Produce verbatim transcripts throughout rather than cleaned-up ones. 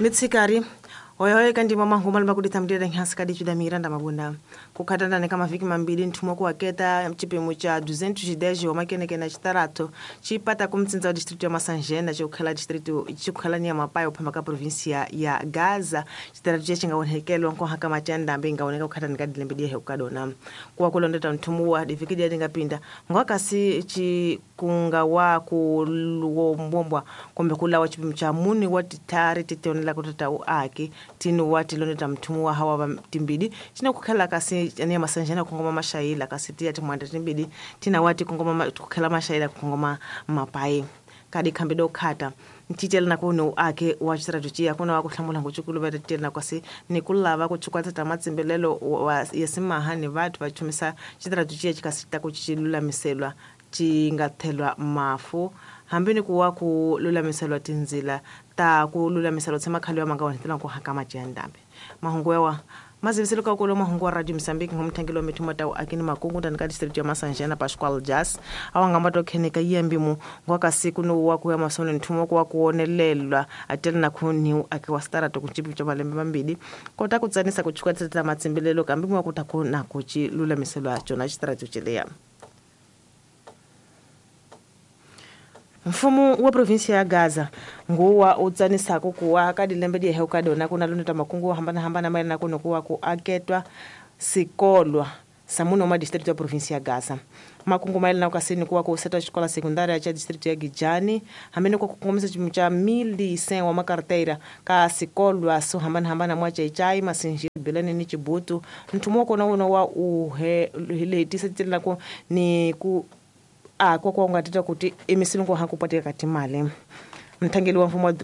Mitsikari hoyohoyo kandima mahuma limakuditha mdira nhansi kadi chuda miranda mabunda kukhatandana kama viki mambili nthumwa kuwaketa chipimo cha duzentos dez wa makenekena chitarato chipata kumtsinza wa distrito ya Masanjena chikukhala distrito chikukhala ni ya Mapayo phamba ka província ya Gaza. Chitarato che chingaonekelwa nkohaka machandambe ingaoneka kukhatani ka dilembe diye hukadona kuwa kulondeta nthumuwa diviki dia dingapinda ngwakasi chikunga wa kulombwa kombe kulawa chipimo cha muni wa titari titionela kutata uaki tinu wati loneta mtumu wa hawa timbidi china kukhala kasi ania Masanjena kungoma mashaila kasi tia timwanda timbidi tina wati kungoma kukhala mashaila kungoma mapai kadi kambido khata ntitela na kuno ake wa strategy kuna wa kuhlamula ngochukulu ba titela na kwasi nikulava kuchukwata tamatsimbelelo wa yesimaha ni vathu va chumisa strategy chikasita kuchilulamiselwa chingathelwa mafu hambi ni kuwa kululamiselwa tinzila ta kululamiselwa tsemakhali wa manga wanetela ku haka majandambe mahungu yawa maziviselo ka kulo mahungu wa Radio Mozambique ngomthangelo mithuma tawo akini makungu ndani ka district ya Masanjena Pascual Jas awangamba to kheneka yembimu ngwakasiku no wa kuya masone nthuma kwa kuonelelwa atela na khuni ake wa starato kuchipi cha malembe mambili kota kutsanisa kuchukatsa matsimbelelo kambi mwa kuta na kuchi lulamiselwa chona chitrato chileya. Mfumo wa província ya Gaza nguwa utsanisako kuwa kadilembe die hukadona kuna luneta makungu hambana hambana maina kuno kuwa ku aketwa sikolwa samuno ma distrito ya província ya Gaza makungu maina kasini kuwa ku seta escola secundária cha distrito ya Gijani hamene kwa kukongomisa chimu cha mil cem wa makarteira ka sikolwa so hambana hambana mwa chaichai masinji bilani ni chibutu mtumo kona uno wa uhe letisa tila ko ni ku a kwa kwa ngatita kuti emisilungu hakupatika katimale mthangeli wa mfumo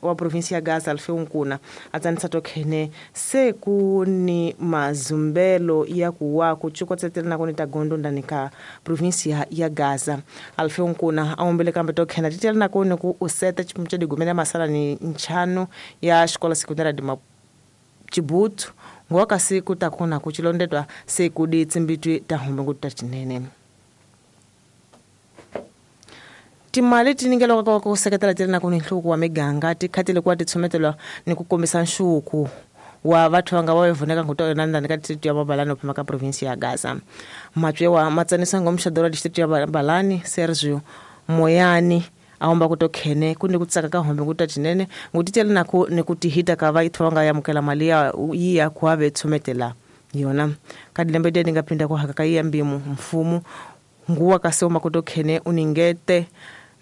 wa província ya Gaza Alfeu Nkuna atsanisa tokhene se kuni mazumbelo ya kuwa kuchukotsetela na kuni tagondo ndani ka província ya Gaza. Alfeu Nkuna aombele kambe tokhene titela na kuni ku useta chipimu cha digumela masala ni nchano ya escola secundária de Chibutu ngwakasi kutakuna kuchilondetwa sekudi tsimbitwi tahombe ngutatinene. Timali tiningelo kwa kuseketela tena na kunihluku wa miganga tikhatile kwa titsometelwa ni kukombisa nshuku wa vathu vanga vavoneka nguto nandani ka district ya Mabalani ophema ka província ya Gaza. Matswewa matsanisa ngomshadoro wa district ya Mabalani Sergio Moyani aomba kutokhene kundi kutsaka ka hombe ngutatinene ngutitela naku nikutihita ka vathu vanga yamukela mali ya yiya kuave tsometela yona kadilembe de ngapinda ku haka ka yambimu mfumo nguwa kasoma kutokhene uningete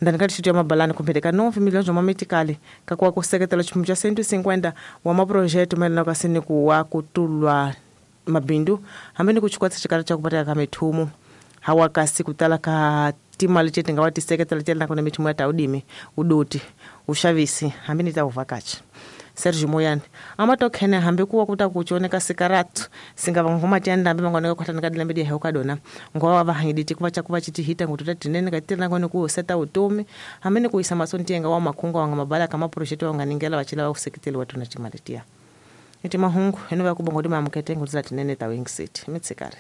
ndani ka distrito ya Mabalani kumpheteka nove milhões wa mametikali kakuwa kuseketela chipimu cha cento e cinquenta wa maprojeto maelana kasini kuwa kutulwa mabindu hambi ni kuchikwatsa chikala cha kupateka ka mithumu hawa kasi kutala ka timali chete ngawa tiseketela tela kuna mithumu ya taudimi udoti ushavisi hambi ni tauvakachi. Sergio Moyani amatokhene hambi kuwa kuta kuchoneka sikaratu singava ngoma tianda hambi mangoneka kwatana kadilembe die hukadona ngowa vahangiditi kuva chakuva chitihita ngututa tinene katira ngone ku seta utomi hambi ni kuisa masontienga wa makunga wanga mabala kama projeto wanga ningela wachila wa kuseketeli watu na timaletia. Iti mahungu eno ya kubongo dima mkete ngutula tinene ta Wing City. Mitsikari.